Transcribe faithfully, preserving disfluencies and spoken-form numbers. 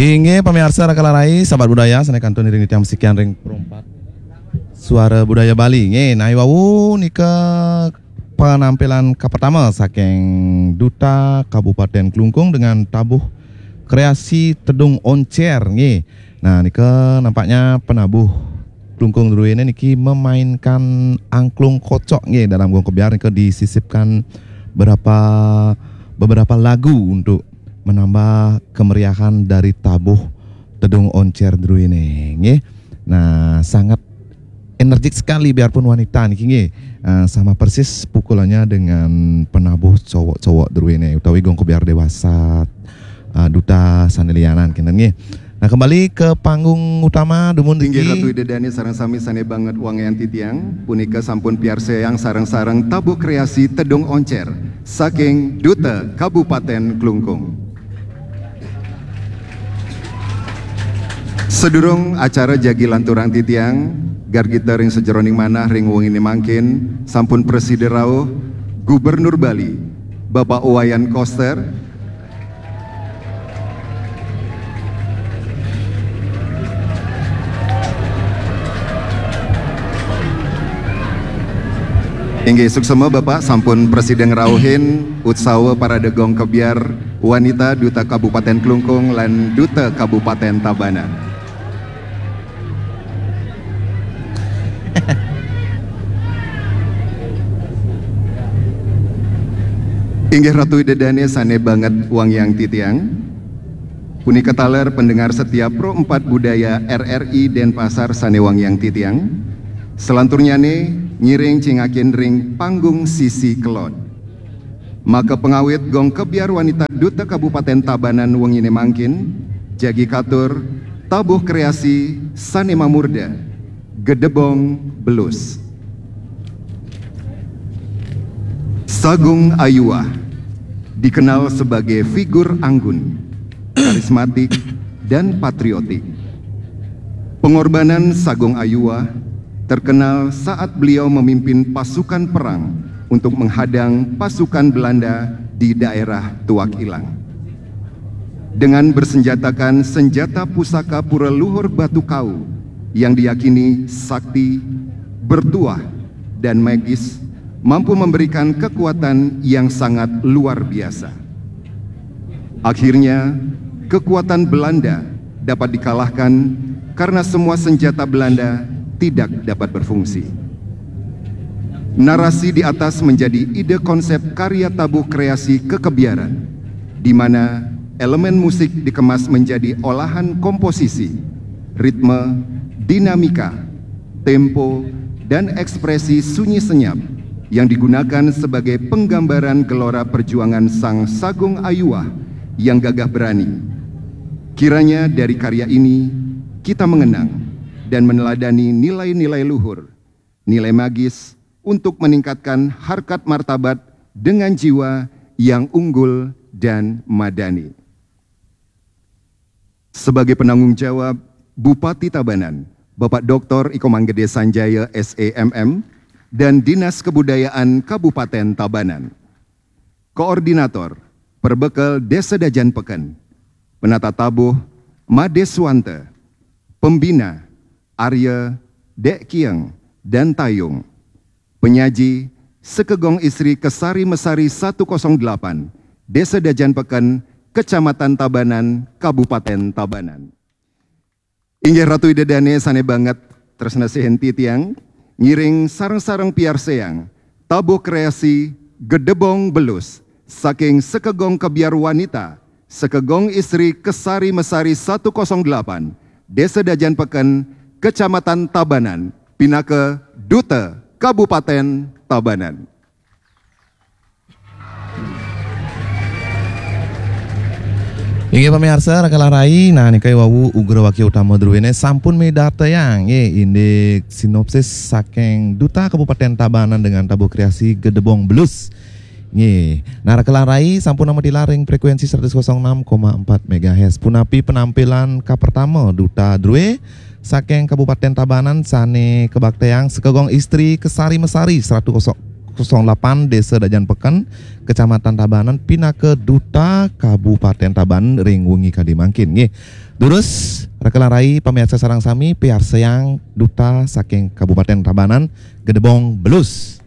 Inggih pamiarsa Rakala Rai, sahabat budaya, sané kantun iring titiang masikian ring Pro empat Suara Budaya Bali. Nggih, nah, wau nika penampilan kapertama saking Duta Kabupaten Klungkung dengan tabuh kreasi Tedung Oncer, nggih. Nah, nika nampaknya penabuh Klungkung druéné niki memainkan angklung kocok, nggih, dalam gong kebyar nika disisipkan beberapa beberapa lagu untuk menambah kemeriahan dari tabuh Tedung Oncer druéné, nggih. Nah, sangat energik sekali biarpun wanita niki, nggih. Eh, sama persis pukulannya dengan penabuh cowok-cowok druéné utawi gong kebyar dewasa, eh, duta sané lianan kinten, nggih. Nah, kembali ke panggung utama dumun Inggih riki. Ratu Ida Dané sareng sami sané banget wangian titiang, punika sampun piarsayang sareng-sareng tabuh kreasi Tedung Oncer saking Duta Kabupaten Klungkung. Sedurung acara jagi lanturang titiang, gargita ring sajeroning manah ring wenginé mangkin sampun prasida rauh Gubernur Bali, Bapak Wayan Koster, Inggih, suksema Bapak sampun prasida ngrauhin utsawa parade gong kebyar wanita Duta Kabupaten Klungkung lan Duta Kabupaten Tabanan. Inggih Ratu Ida Dané sané banget wangiang titiang. Punika taler pendengar setia Pro empat Budaya R R I Denpasar sané wangiang titiang. Selanturnyané ngiring cingakin ring panggung sisi kelod. Maka pengawit gong kebyar wanita Duta Kabupaten Tabanan wenginé mangkin, jagi katur tabuh kreasi sané mamurda, Gedebong Belus. Sagung Ayuah dikenal sebagai figur anggun, karismatik, dan patriotik. Pengorbanan Sagung Ayuah terkenal saat beliau memimpin pasukan perang untuk menghadang pasukan Belanda di daerah Tuak Ilang. Dengan bersenjatakan senjata pusaka pura luhur batu kau yang diyakini sakti, bertuah, dan magis, mampu memberikan kekuatan yang sangat luar biasa. Akhirnya, kekuatan Belanda dapat dikalahkan karena semua senjata Belanda tidak dapat berfungsi. Narasi di atas menjadi ide konsep karya tabuh kreasi kekebiaran, di mana elemen musik dikemas menjadi olahan komposisi, ritme, dinamika, tempo, dan ekspresi sunyi senyap yang digunakan sebagai penggambaran gelora perjuangan Sang Sagung Ayuah yang gagah berani. Kiranya dari karya ini kita mengenang dan meneladani nilai-nilai luhur, nilai magis untuk meningkatkan harkat martabat dengan jiwa yang unggul dan madani. Sebagai penanggung jawab, Bupati Tabanan, Bapak Doktor Iko Manggede Sanjaya, S E M M, dan Dinas Kebudayaan Kabupaten Tabanan. Koordinator, Perbekel Desa Dajan Peken. Penata tabuh, Made Suwanta. Pembina, Arya, Dek Kieng, dan Tayung. Penyaji, Sekegong Istri Kesari Mesari satu kosong delapan, Desa Dajan Peken, Kecamatan Tabanan, Kabupaten Tabanan. Inggih Ratu Ida Dané sané banget tresna sihin titiang, ngiring sareng-sareng piarsayang tabuh kreasi Gedebong Belus saking Sekegong Kebiar Wanita, Sekegong Istri Kesari Mesari satu kosong delapan, Desa Dajan Peken, Kecamatan Tabanan, pinaka Duta Kabupaten Tabanan. Inggih pamiarsa, Rakala Rai, nah nika wau ugra wakya utama druéné sampun midartayang, nggih, indik sinopsis saking Duta Kabupaten Tabanan dengan tabuh kreasi Gedebong Belus. Nggih. Nah, Rakala Rai sampun nametilar ring frekuensi seratus kosong enam koma empat megahertz. Punapi penampilan kapertama Duta Drué saking Kabupaten Tabanan sané kabaktayang Sekegong Istri Kesari Mesari seratus kosong kosong lapan, Desa Dajan Peken, Kecamatan Tabanan, pinaka Duta Kabupaten Tabanan ring wengi kadi mangkin, nggih. Durus, raka lan rai pamiarsa sareng sami, piarsayang Duta saking Kabupaten Tabanan, Gedebong Belus.